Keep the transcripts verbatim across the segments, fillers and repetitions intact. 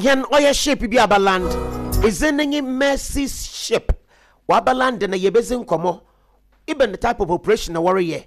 Hɛn ɔyɛ ship bi aba land. Edzin no nye Mercy Ship. Wɔaba land na yɛbɛdzi nkɔmmɔ. Even the type of operation na wɔreyɛ.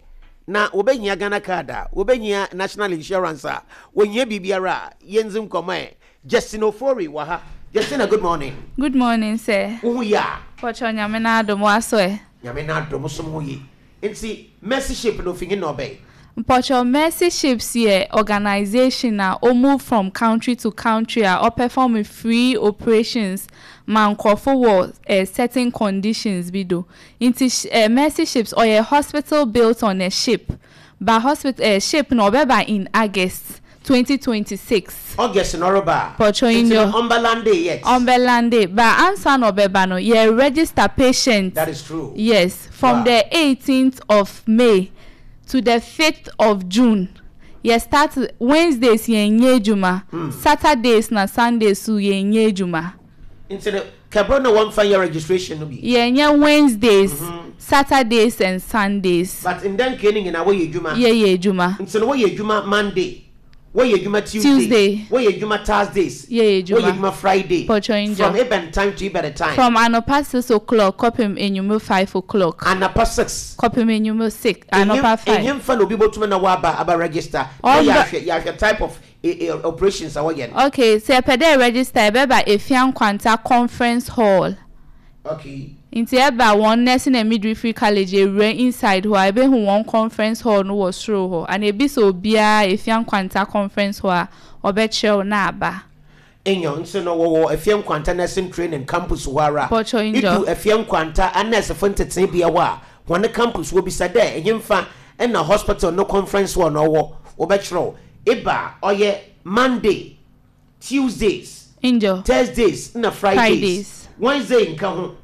Na wɔbɛhia Ghana card a, wɔbɛhia national insurance a, wɔhia biribiara a, yɛndzi nkɔmmɔ ɛ. Justin Ofori wɔ ha. Justina, good morning. Good morning, sir. Wo ho yie a? Pɔtɔ Nyame n'adom waso ɛ. Nyame n'adom som ho yie. Nti Mercy Ship no ofi nye na ɔbɛn? Mpɔtɔ Mercy Ships yɛ organisation a o move from country to country a ɔperform free operations ma nkurɔfo wɔ eh, certain conditions bi do. Nti eh, Mercy Ships ɔyɛ hospital built on a ship. Ba hospital eh, ship no ɔbɛba in August twenty twenty-six. August na ɔreba a. Pɔtɔ. Nti Inyo. no ɔmba land yet. Ɔmbɛlande ba ansa na ɔbɛba no, yɛ register patient. That is true. Yes, from Wow. the eighteenth of May to the fifth of June. Yɛ start Wednesdays, yɛn nyɛ adwuma. Mm. Saturdays na Sundays so yɛn nyɛ adwuma. Nti no kɛbro na wɔmfa nyɛ registration no bi. Yɛn nyɛ Wednesdays, Mhm. Saturdays and Sundays. But ndɛ nkee no nyinaa wɔyɛ adwuma. Yɛyɛ adwuma. Nti no wɔyɛ adwuma Monday, wɔyɛ adwuma Tuesday, Tuesday. wɔyɛ adwuma Thursdays, Yɛyɛ wɔyɛ adwuma. adwuma Friday. Pɔtɔ injɔ. From eben time to eben time? From anɔpa six o'clock kɔpem enyimire five o'clock. Anapa six. Kɔpem enyimire six, anɔpa five. Ɛnyɛ mfa na obi bɔtumi na waba aba register na Ɔba- yɛahwɛ yɛahwɛ type of eh, eh, operations a wɔyɛ no? Okay, sɛ yɛpɛ dɛ register, yɛbɛba Efia Nkwanta Conference Hall. Okay. Nti ɛba wɔn Nursing and Midwifery College, ewura inside hɔ a, ebehu wɔn conference hall no wɔ soro hɔ, ana ebi sɛ obiara Efia Nkwanta Conference Hall a, ɔbɛkyerɛw na aba. Enyo nso no wɔwɔ Efia Nkwanta Nursing Training Campus hɔ ara. Pɔtɔ Idu injɔ. Efia Nkwanta anɛsefo ntetee bea hɔ a, wɔn campus wɔ bisa dɛ ɛnyɛmfa ɛna hospital no conference hall na ɔwɔ, wɔbɛkyerɛw. Eba a, ɔyɛ Monday, Tuesdays, Injɔ. Thursdays na Fridays. Fridays. Wednesday nka ho,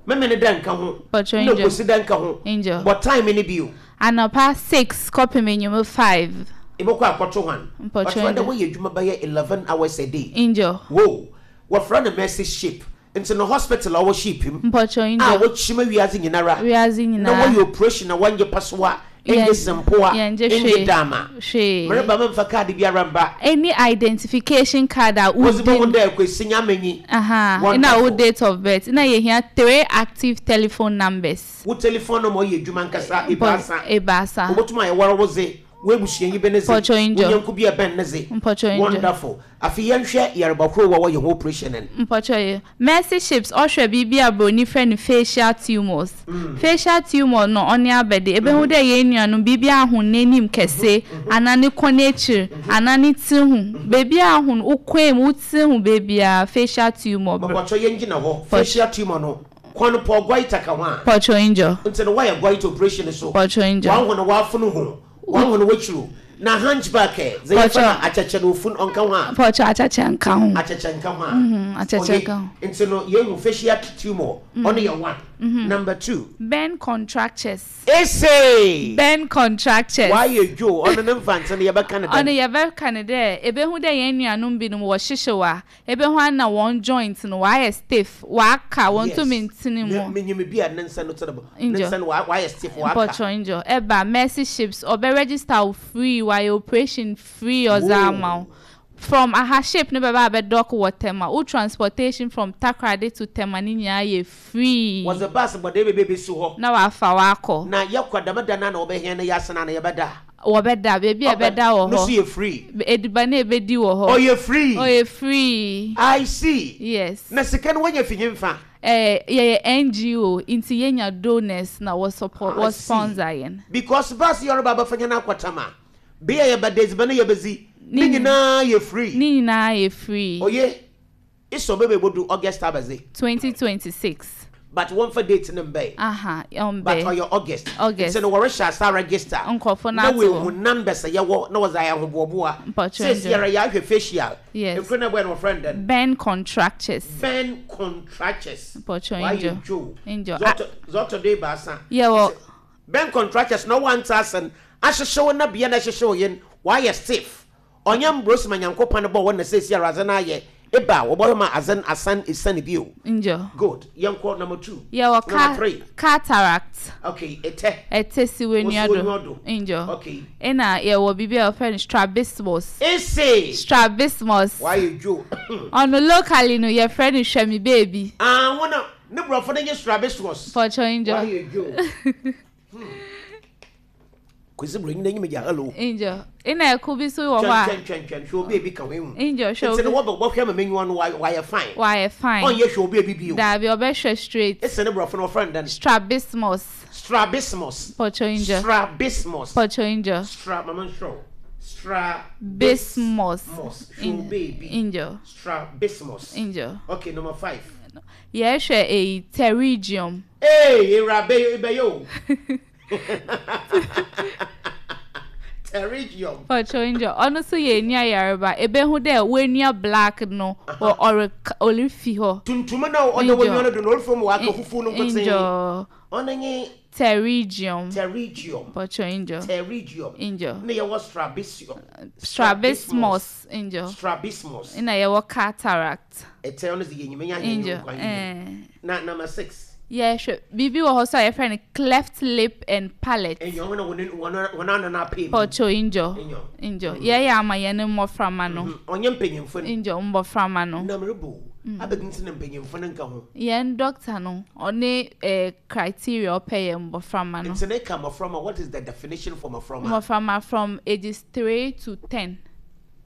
Memene da nka ho, Pɔtɔ na injɔ. Kwesi da nka ho. Injɔ. Bɔ time no bio. Anɔpa six kɔpem enyimire five. Ebɛkɔ akɔto hwan? Mpɔtɔ ɔkyerɛ dɛ injɔ. wɔyɛ adwuma bɛyɛ eleven hours a day. Injɔ. Wo wɔfrɛ no Mercy Ship, nti no hospital a ɔwɔ ship mu Mpɔtɔ a injɔ. wɔkyima wiase nyinara Wiase na nyinaa. wɔyɛ operation na wɔnyɛ pasoa, ɛnyɛ Yɛn- sempoa, yɛngye ɛnyɛ hwee. dama. Hwee. Mereba memfa card biara mba. Any identification card a wɔdze bɛhu wodin. dɛ Kwesi Nyamenyi. Aha. Wonderful. Na wo date of birth. Na yɛhia three active telephone numbers. Wo telephone number ɔyɛ adwuma nkasa ebaasa. Ebaasa. Wobɛtum ayɛ wɔre wo dze, woebusuanyi bi ne dze, Pɔtɔ injɔ. wo nyɛnko bi a ɛbɛn ne dze. Mpɔtɔ injɔ. Wonderful. Afei yɛnhwɛ yareba koro wɔ wɔyɛ ho operation no. Mpɔtɔ yi. Mercy Ships ɔhwɛ biribi a broni frɛ no facial tumors. Facial tumor no, ɔne abɛde. Ebehu dɛ yɛn nuanom biribi ahon n'anim kɛse, anaa ne kɔn akyir, anaa ne ti ho. Beebi ahon, wo kɔn mu, wo ti ho beebiara, facial tumor. Mapɔtɔ, yɛngyina hɔ. Facial tumor no kwan pɔ goiter ka ho a? Pɔtɔ injɔ. Nti no wɔyɛ goiter operation so? Pɔtɔ injɔ. Wɔn ho no wɔafono ho, wɔn ho no wɔakyiro na hunchback ɛ dze yɛfɛ no akyɛkyɛ no ofun ɔnka ho a? Pɔtɔ, akyɛkyɛ nka ho. Akyɛkyɛ nka ho a? Mhm, akyɛkyɛ Oye, nka ho. Nti no yɛhu facial tumor, ɔno yɛ one. Number two? Burn contractures. Ese? Burn contractures. Wayɛ dwo, ɔno ne mfantse no yɛbɛka ne Ɔno dɛn? yɛbɛka ne dɛ ebehu dɛ yɛn nuanom binom wɔhyehyew a, ebehu ana wɔn joint no wɔayɛ stiff, wɔaka, wɔn ntumi ntene mu. Menyim bi a ne nsa no tene ne Injɔ. nsa no wa- wayɛ stiff, waka. Mpɔtɔ injɔ. Ɛba Mercy Ships, ɔbɛ register wo free, wɔayɛ operation free ɔdze ama wo. From aha, ship no bɛba abɛdock wɔ Tema, wo transportation from Takoradi to Tema ne nyinaa yɛ free. Wɔdze bus bɔde bebe besi hɔ? Na wafa wakɔ. Na yɛkɔ dɛm da no na wɔbɛhɛn no yɛasena na yɛbɛda? Wɔbɛda beebi a ɛbɛda wɔ No so hɔ. yɛ free? Ediban a ebedi wɔ hɔ. Ɔyɛ free? Ɔyɛ free. I see. Yes. Na sika no wɔnya fi nyimfa? Eh, yɛyɛ N G O nti yɛnya donors na wɔ support, I wɔ see. sponsor yɛn. Because bus yɛ ɔreba abɛfa nyɛ no akɔtama bea yɛbɛda, edziban no yɛbɛdzi ne Ne nyinaa yɛ free? Ne nyinaa yɛ free. Oye, isɔ bɛbɛ bodu August abɛdze? twenty twenty-six. But wɔmfa date no mbɛn. Aha, ɔmbɛ. But ɔyɛ August. August. Nti no wɔrehyɛ asa register Nkɔfo na no ato wɔehu hɔ. numbers a yɛwɔ na wɔdze ayɛ ahoboaboa. Mpɔtɔ seesi ndwo. ara yɛahwɛ facial. Yes. Ekuro na ɛbɔyɛ no wɔfrɛ no dɛn? Burn contractures. Burn contractures. Mpɔtɔ wayɛ ndwo. dwo. Ndwo. Ah, zɔtɔ zɔtɔ do ebaasa. Yɛwɔ Burn contractures na wɔante ase ahyehyɛw na bea na ɛhyehyɛw yɛn wayɛ stiff, ɔnyɛ mbrosima Nyankopɔn bɔ wɔn na seesi ara adze no ayɛ Eba wɔbɔhwɛ ma azan asan esan bio. Njo. Good. Yɛnkɔ number two. Yɛwɔ Number three. Cataract. Okay, ɛtɛ. Ɛtɛ si w'enyiwa do. Njo. Okay. Ɛna yɛwɔ biribi a wɔfrɛ no strabismus. Ese. Strabismus. Wayɛ dwo. Ɔno locally no yɛfrɛ no hwɛ me baby. Ah, wɔn a ne borɔfo no nye strabismus. Pɔtɔ njo. Wayɛ dwo. Kwesi bro nyina nyim gya hello. Njo. Ɛna ɛko bi so wɔ hɔ a. Twɛn twɛn twɛn hwɛ obi ebi ka ho ehu. Njo hwɛ Nti obi. no wɔbɛ wɔhwɛ ma menyiwa no wayɛ fine. Wayɛ fine. Ɔnyɛ hwɛ obi ebi bio. Daabi, ɔbɛhwɛ straight. Ese ne borɔfo no wɔfrɛ no dɛn? Strabismus. Strabismus. Pɔtɔ njo. Strabismus. Pɔtɔ njo. Stra mama nsrɔ. Bismus. Strabismus. Hwɛ obi ebi. Njo. Strabismus. Njo. Okay, number five. Yɛhwɛ eyi pterygium. Ee, ewurabe ebɛyɛ o. Pterygium. Pɔtɔ njo. Ɔno nso yɛ eni ayareba. Ebehu dɛ w'enua black no wɔ ɔre ɔrefi hɔ. Tuntum na ɔda w'enua no do na ɔrefam wɔ aka fufuo no nkotsee. Njo. Ɔno nye Pterygium. Pterygium. Pɔtɔ njo. Pterygium. Njo. Na yɛwɔ strabismus. Strabismus. Njo. Strabismus. Ɛna yɛwɔ cataract. Ɛtɛ ɔno dze yɛ nyimenya yɛ Njo. nkwan. Ɛɛ. Na number six. Yɛhwɛ biribi wɔ hɔ so a yɛfrɛ no cleft lip and palate. Ɛnyɛ wɔn a wɔn wɔn wɔn ano na apɛ mu. Pɔtɔ njo. Ɛnyɛ. Njo. Yɛyɛ ama yɛn mmɔframma no. Ɔnyɛ mpanyinfo no. Njo mmɔframma no. Na merebo. Abɛgi nti na mpanyinfo no nka ho. Yɛn doctor no ɔne eh, criteria ɔpɛ yɛ mmɔframma no. Nti ne ka mmɔframma, what is the definition for mmɔframma? Mmɔframma from ages three to ten.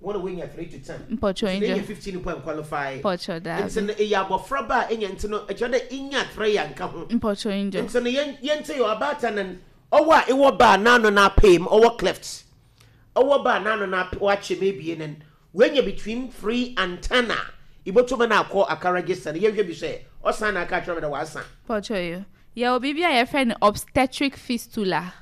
Wɔn a wɔnya three to ten. Mpɔtɔ Nti na njo. ɛyɛ fifteen point qualify. Mpɔtɔ Nti daabi. no ɛyɛ abɔfraba a ɛnya nti no ɛkyerɛ dɛ ɛnya three yɛ nka ho. Mpɔtɔ njo. Nti no yɛn yɛn ti yɛ ɔbaatan no ɔwɔ a ɛwɔ baa n'ano na apɛ mu ɔwɔ cleft. Ɔwɔ baa n'ano na wakyɛ mu ebien no wɔnya between three and ten a ibotuma na akɔ aka register no yɛhwɛ bi sɛ ɔsan na aka kyerɛ me dɛ wasa. Pɔtɔ yo. Yɛwɔ biribi a yɛfrɛ no obstetric fistula.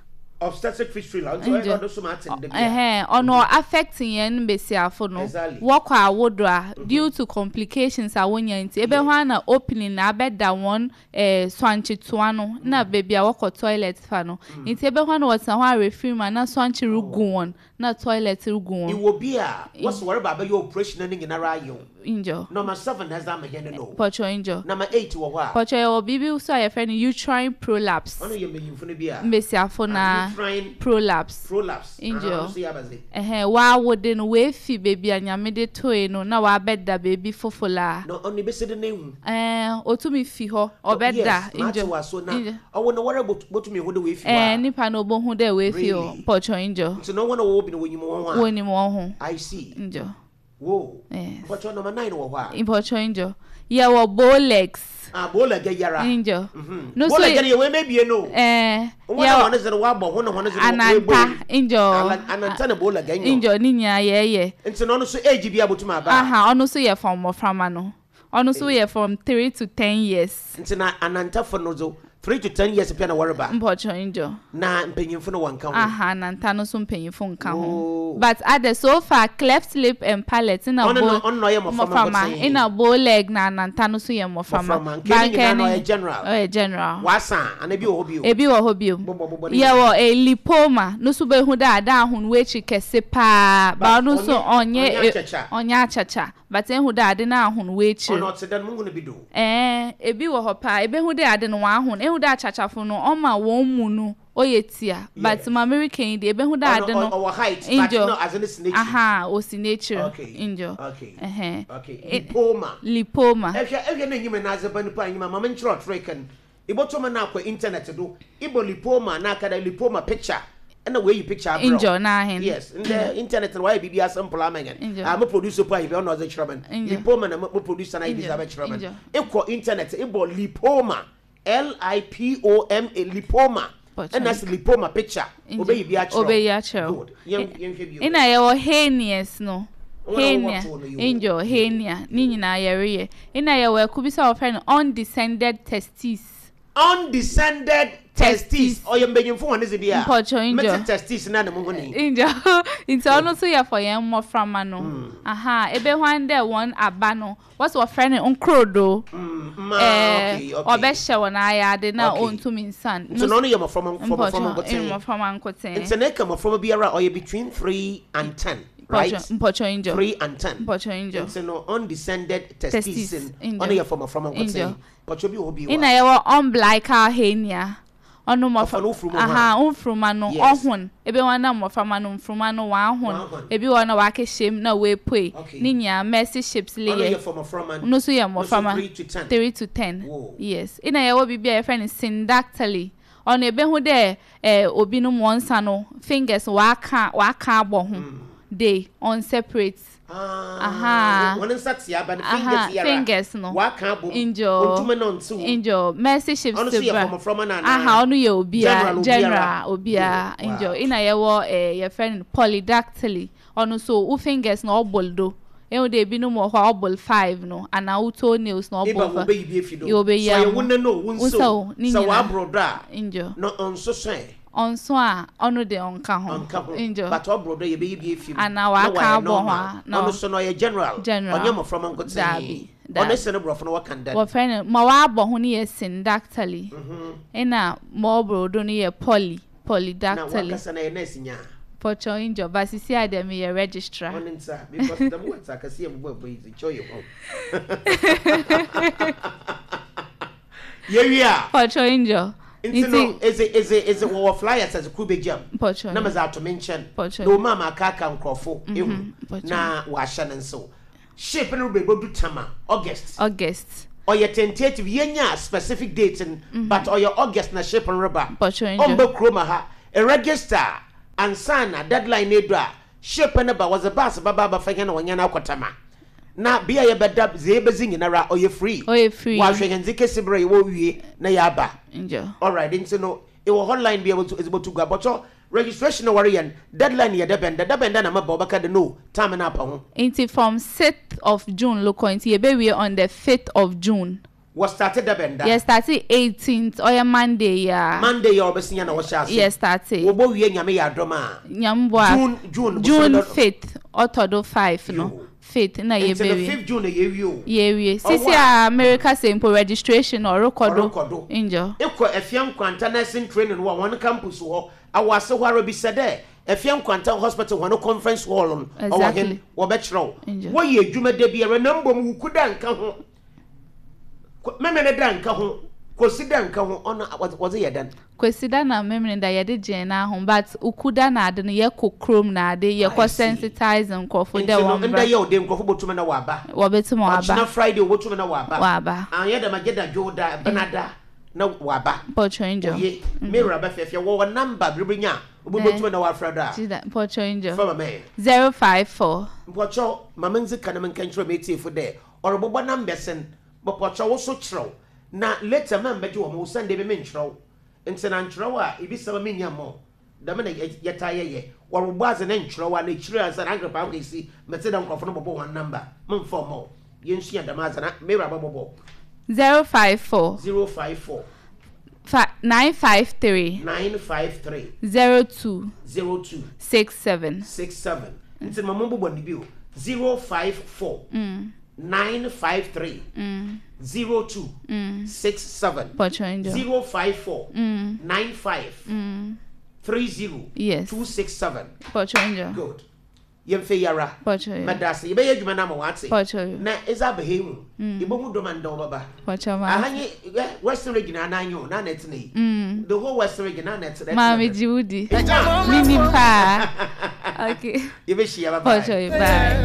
Obstetric fistula nti ɔyɛ Njo. ɔdo so ma ate ndɛ bia. Ɛhɛn, ɔno affect yɛn mbesiafo no. Exactly. Wɔkɔ awodo a due to complications a wonya nti ebe hɔ a na opening na abɛda wɔn ɛɛ swankyetoa no na beebi a wɔkɔ toilet fa no. Nti ebe hɔ a na wɔtena hɔ a refiri mu a na swankye regu wɔn na toilet regu wɔn. Iwɔ bi a wɔsɛ wɔreba abɛyɛ operation no nyinara ayɛ o. Njo. Number seven na ɛdze ama yɛn no no. Pɔtɔ njo. Number eight wɔ hɔ a. Pɔtɔ yɛwɔ biribi nso a yɛfrɛ no uterine prolapse. Ɔno yɛ mpanyinfo no bi a. Mbesiafo na Uterine prolapse. prolapse. Njo. Aha, ɔno nso yɛ abadze. Ɛhɛn, waawode no weefi beebi a Nyame de toe no na wabɛda beebi foforɔ a. Na ɔno ebesi de n'ehu. Ɛɛ, otumi fi hɔ ɔbɛda. Yes, maate Njo. wɔ so na Njo. ɔwɔ no wɔrɛ botumi ehu de weefi hɔ Ɛɛ a. nipa no obohu dɛ weefi hɔ. Really? Pɔtɔ njo. Nti na wɔn a wɔwɔ bi no wɔnyim wɔn ho a. Wonim wɔn ho. I see. Njo. Wo. Yes. Pɔtɔ number nine wɔ hɔ a. Pɔtɔ njo. Yɛwɔ bow legs. Ah, bow leg yara. Njo. Mhm. No Bow so leg no yɛ wɔn ebien no. Ɛɛ Wɔn a yɛwɔ wɔn dze no wɔabɔ ho na wɔn dze no ananta njo. Ananta na bow leg nyo. Njo ne nyinaa yɛyɛ. Nti na ɔno nso age bi a botumi aba. Aha, ɔno nso yɛ from mmɔframma no. Ɔno nso yɛ from three to ten years. Nti na anantafo no so three to ten years pɛ na wɔreba. Mpɔtɔ njo. Na mpanyinfo no wɔnka ho. Aha, ananta no nso mpanyinfo nka ho. Oh. But ade so far cleft lip and palate na Ɔno bow no ɔno na ɔyɛ mmɔframma mmɔframma nkotsee. ɛna bow leg na ananta no nso yɛ mmɔframma. Mmɔframma. Nke ne nyinaa no ɔyɛ general. Ɔyɛ general. Wasa ana bi wɔ hɔ bio. Ebi wɔ hɔ bio. Bɔbɔ bɔbɔ ne Yɛwɔ e lipoma no nso bɛhu dɛ ada ahon w'akyi kɛse paa ba ɔno nso ɔnyɛ ɔnyɛ ɔnyɛ akyakya. ɔnyɛ akyakya but ehu dɛ ade no ahon w'akyiri. Ɔno ɔte dɛ no muhu no bi do. Ɛɛ ebi wɔ hɔ paa ebehu dɛ ade no wɔahon ehu dɛ akyakyafo no ɔma wɔn mu no ɔyɛ tia but Yes. ma American yi deɛ ebehu dɛ ade Ɔno no ɔwɔ height but Njo. no adze no si n'akyi. Aha, osi n'ekyir. Okay. Njo. Okay. Ɛhɛn. Okay. E- Lipoma. Lipoma. Ɛhwɛ ɛhwɛ na enyim na adze ba nipa enyim a maame nkyerɛ ɔtrek no. Ibotoma na akɔ internet do. Ibɔ lipoma na aka dɛ lipoma picture. Ɛna wɔayi picture abrɛ wo. Njo n'ahen. Yes, ndɛ internet no wayɛ biribi simple ama yɛn. Njo. Ah, mo producer po ayi bi ɔno ɔdze kyerɛ me. Njo. Lipoma na mo mo producer na ayi bi Njo. dze abɛkyerɛ me. Njo. Ekɔ internet ibɔ lipoma L I P O M A lipoma. Pɔtɔ. Ɛna sɛ lipoma picture. Njo. Obeyi bi akyerɛ wo. Obeyi akyerɛ wo. Good. Yɛn yɛnhwɛ bio. Ɛna yɛwɔ hernias no. Wɔn a wɔwɔ Hernia. toɔ no yi o. Njo hernia ne nyinaa yɛreyɛ. Ɛna yɛwɔ ɛko bi sɛ wɔfrɛ no undescended testes. Undescended testes. Testes. Ɔyɛ mpanyinfo wɔn ne dze bi a. Mpɔtɔ njo. Mete testes na ne mo ho ni. Njo nti ɔno nso yɛ for yɛn mmɔframma no. Hmm. Aha, ebe hwan dɛ wɔn aba no wɔsɛ wɔfrɛ no nkrodo. Mm, ma Ɛɛ okay okay. ɔbɛhyɛ wɔn ayade na Okay. ɔntumi nsan. Nti na ɔno yɛ mmɔframma mmɔframma Mpɔtɔ nkotsee. mmɔframma nkotsee. Nti na ɛka mmɔframma biara a ɔyɛ between three and ten. right? Mpɔtɔ angel. Three and ten. Mpɔtɔ angel. Nti no undescended testes. Testes, ɔno yɛ for mmɔframma Angel. nkɔtɛn. Pɔtɔ bi wɔ hɔ bi wɔ. Ina yɛwɔ umbilical hernia. Ɔno Ɔfa no mmɔfra mfuruma aha mfuruma no Yes. ɔhon ebi wɔn na mmɔframma no mfuruma no Wɔahon. wɔahon, ebi wɔ na wakɛhyɛ mu na wɔapue. Okay. Ne nyinaa Mercy Ships le Ɔno yɛ. yɛ for mmɔframma. Ɔno nso yɛ Ɔno nso mmɔframma. three to ten. Three to ten. Whoa. Yes, ina yɛwɔ biribi a yɛfrɛ no syndactyly. Ɔno ebehu dɛ ɛɛ obinom wɔn nsa no fingers waka waka abɔ ho de on separate. Ah, Aha. wɔn nsa tea ba no Aha, fingers yara. Fingers no. Waka abom. Angel. Ontuma na ɔnte wo. Angel, Mercy Ships. Ɔno nso yɛ bra. for mmɔframma na anaa? Aha, ɔno yɛ obiara. General obiara. General obiara. Wow. Angel, ina yɛwɔ ɛɛ yɛfrɛ no polydactyly. Ɔno so wo fingers na ɔbɔ do ehu de ebinom wɔ hɔ a ɔbɔ five no anaa wo toenails na Eba ɔbɔ wo bɛyi bi efi do. Yɛ wɔbɛyi Sɛ ɔyɛ ama. wo nne no wo Wo nsa nsa o. o, ne Sɛ nyinaa. waboro do a Angel. na ɔnso so ɛ. Ɔnso a ɔno de ɔnka ho. Ɔnka ho. Angel. But ɔboro do yɛbɛyi bi efi mu. Anaa Na waka wayɛ abɔ ho normal. a, na Ɔno so no ɔyɛ general. General. Ɔnyɛ mmɔframma nkotee. Daabi, Ɔno daabi. sɛ ne borɔfo no wɔka ndɛ. Wɔfrɛ no ma wabɔ ho no yɛ syndactyly, Mhm. ɛna ma ɔboro do no yɛ poly Na polydactyly. wakasa na yɛ nurse nyaa. Pɔtɔ angel, but sisi a deɛ meyɛ registrar. Ɔne nsa because dɛm wɔ nsa akɛseɛ mu bɔ ɛbɔ yi kyɛ ɔyɛ hɔ. Yɛwie a. Pɔtɔ angel. Nti no eze eze eze wɔwɔ flyers ɛdze kuru bɛgyam Pɔtɔ. Na mɛdze ato me nkyɛn Pɔtɔ. na ɔma ama akaaka nkurɔfo ehu Pɔtɔ. na wɔahyɛ ne nsew. Ship no bɛbɛdu Tama August. August. Ɔyɛ tentative, yɛnya specific date no, but ɔyɛ August na ship no reba. Pɔtɔ angel. Ɔmbɛ kurom ha, register ansa na deadline no edu a ship no ba, wɔdze bus baba abafa hɛn na wɔnyɛ no akɔ Tama na bea yɛbɛda dze yɛbɛdzi nyinara ɔyɛ free. Ɔyɛ free. Wɔahwɛ hɛn dze kesi berɛ yɛwɔ wie na yɛaba. Angel. Alright, nti no ɛwɔ hotline bi a wɔdze bɔtu gua bɔtɔ registration na wɔreyɛ no, deadline yɛ dɛbɛn dɛ dɛbɛn dɛ na maba wɔbɛka de no time no apa ho. Nti from sixth of June lokɔ, nti yɛbɛwie on the fifth of June. Wɔ start dɛbɛn da? Yɛ start eighteenth, ɔyɛ Monday ya. Monday yɛ ɔbɛsinya na wɔhyɛ ase. Yɛ start. Wɔbɔ wie Nyame yɛ adɔm a Nyamboa. June June June bosome dɔ- fifth, ɔtɔ do five no. Yo. Fifth na Nti no yɛbɛwie. fifth June na yɛwie o. Yɛwie. Ɔwɔ Sisi a America sɛ mpo registration ɔrekɔ do. Ɔrekɔ do. Angel. Ekɔ Afia Nkwanta nursing training wɔ wɔn campus hɔ awɔ ase hɔ ara bi sɛ dɛ Afia Nkwanta Hospital wɔn conference hall no ɔwɔ Exactly. hen wɔbɛkyerɛw. Angel. Wɔyɛ adwuma da biara na mbom wuku da nka ho, Ko- mɛmɛ da nka ho, kosi da nka ho, ɔno wɔdze wɔdze yɛ dɛn? Kwesida na mmemmene da yɛde gyee n'aho, but ukuda na ade no yɛkɔ kurom na ade I yɛkɔ see. sensitize nkurɔfo Nti dɛ no wɔn ndɛ bra. yɛ ɔde nkurɔfo bɔtumi na wɔaba. Wɔbɛtum Ɔkyena wɔaba. Friday wɔbɔtumi na wɔaba. Wɔaba. Anyɛ dɛm agye da dwo da benada na wɔaba. Mpɔtɔ angel. Oye mewura bɛfɛɛfɛ wɔwɔ number biribi nya obi bɔtumi na wɔafrɛ do a. Gyida mpɔtɔ angel. Fama mɛ. Zero five four. Mpɔkyɛw mama ndzi ka na menka nkyerɛ me etiefo dɛ ɔrebobɔ numbers no, bɔpɔkyɛw wo so kyerɛw na later ma mbɛgye wɔ mo wo Sunday bi menkyerɛw nti na nkyerɛw a ebi sɛm menya mmɔ dɛm na yɛ- yɛtaa yɛyɛ wɔrebobɔ adze ne nkyerɛw a na ekyirɛ ansa na angrapa akɔ esi mɛte dɛ nkurɔfo no bɔbɔ wɔn number memfa ɔmɔ yɛnsua dɛm adze na mewura bɛbɔbɔ. Zero five four. zero five four. Fi nine five three. nine five three. zero two. zero two. six seven. six seven. Nti ma mombobɔ ne bio, zero five four nine five three zero two six seven. Pɔtɔ angel. zero five four nine five three zero Yes. two six seven. Pɔtɔ angel. Good, yɛmfɛ yara. Pɔtɔ. Mɛda ase, yɛbɛyɛ adwuma no ama wɔate. Pɔtɔ. Na ɛdze aba ha yi mu yɛbɛhu dɔm a ndɛ wɔbɛba. Pɔtɔ ma. Aha nye ɛ, Western Region anan o na na ɛtena yi, the whole Western Region na na ɛtena. Maame gye wo di. Minim paa. Okay. Yɛbɛhyia, bye bye. Pɔtɔ, bye.